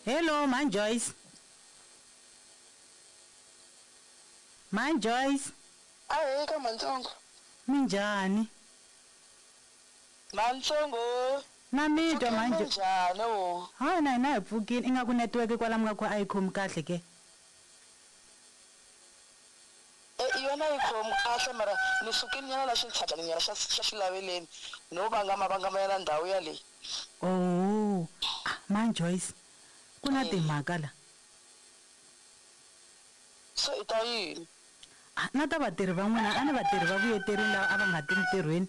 Hello, mhani Joyce. Mhani Joyce. Ahee ka Mhantsongo. Minjhani? Mhantsongo. Na mi twa mhani Joyce. Minjhani wo? Hayi na hina hi pfukile ingaku network kwala mi nga kona a yi khomi kahle ke. E yona yi khomi kahle mara ni sukile nyana la xintshabyani nyana xa xa xilaveleni no vangama vangama nyana ndhawu yaleyi. Oh, ah mhani Joyce ku na timhaka la. Se i ta yini? Ah na ta vatirhi va n'wina a ni vatirhi va vuyeterini lava a va nga ti ntirhweni.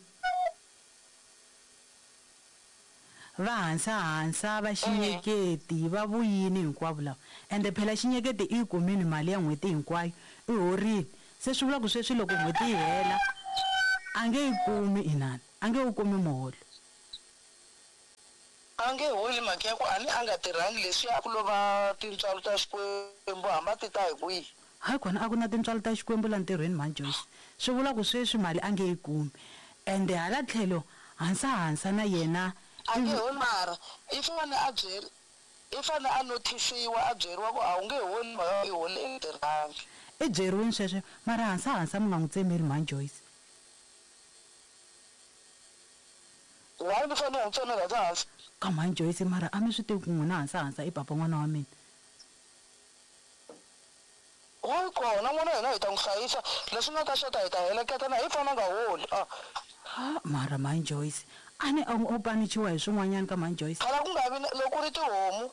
Va hansa-hansa, va xinyeketi, va vuyini hinkwavo lava. Ende phela xinyeketi i yi kumini mali ya n'hweti hinkwayo, i horile. Se swi vula ku sweswi loko n'hweti yi hela a nge yi kumi inani, a nge wu kumi muholo. A nge holi mhaka ya ku a ni a nga tirhangi leswiya a ku lo va tintswalo ta Xikwembu hambi a ti ta hi kwihi. Hayi kona a ku na tintswalo ta Xikwembu la ntirhweni mhani Joyce. Swi vula ku sweswi mali a nge yi kumi. Ende hala tlhelo Hansa Hansa na yena A nge holi mara i fane a byeri i fane a nothisiwa a byeriwa ku a wu nge holi mhaka i holi i tirhangi. I byeriwini sweswo mara Hansa Hansa mi nga n'wi tsemeli mhani Joyce. Why ni fane ni n'wi tsemela Hansa Hansa? Ka mhani Joyce mara a mi swi tivi ku n'wina Hansa Hansa i papa n'wana wa mina. Why kona n'wana hina hi ta n'wi hlayisa leswi nga ta xota hi ta heleketa na hi fana nga holi ah. Ha mara mhani Joyce a ni o panichiwa hi swin'wanyani ka mhani Joyce. Phela ku nga vi na loko ku ri tihomu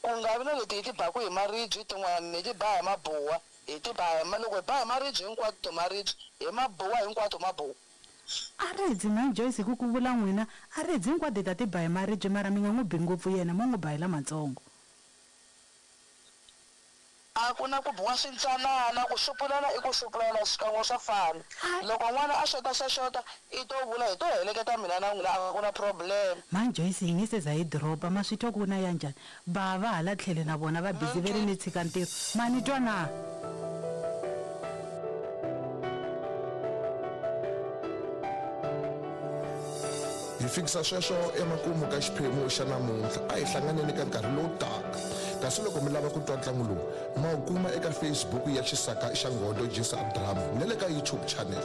ku nga vi na leti hi ti baku hi maribye tin'wana hi ti ba hi mabuwa hi ti ba hi loko hi ba hi maribye hinkwato maribye hi mabuwa hinkwato mabuwa. A redzi mhani Joyce hi ku ku vula n'wina a redzi hinkwato hi ta ti ba hi maribye mara mi nga n'wi bi ngopfu yena mo n'wi ba hi lamatsongo. A ku na ku biwa swintsanana, ku xupulana i ku xupulana xikan'we swa fana. Loko n'wana a xota xa xota, i to vula hi to heleketa mina na n'wina a ku na problem. Mhani Joyce hi nge se za hi dropa, ma swi twa ku na ya njhani? Bava hala tlhelo na vona va busy ve ri ni tshika ntirho. Ma ni twa na? Hi fikisa sweswo emakumu ka xiphemu xa namuntlha. A hi hlanganeni ka nkarhi lowu taka. Kasi loko mi lava ku twa ntlangu lowu, ma wu kuma eka Facebook ya Xisaka xa Nghondo Jisa Drama na le ka YouTube channel.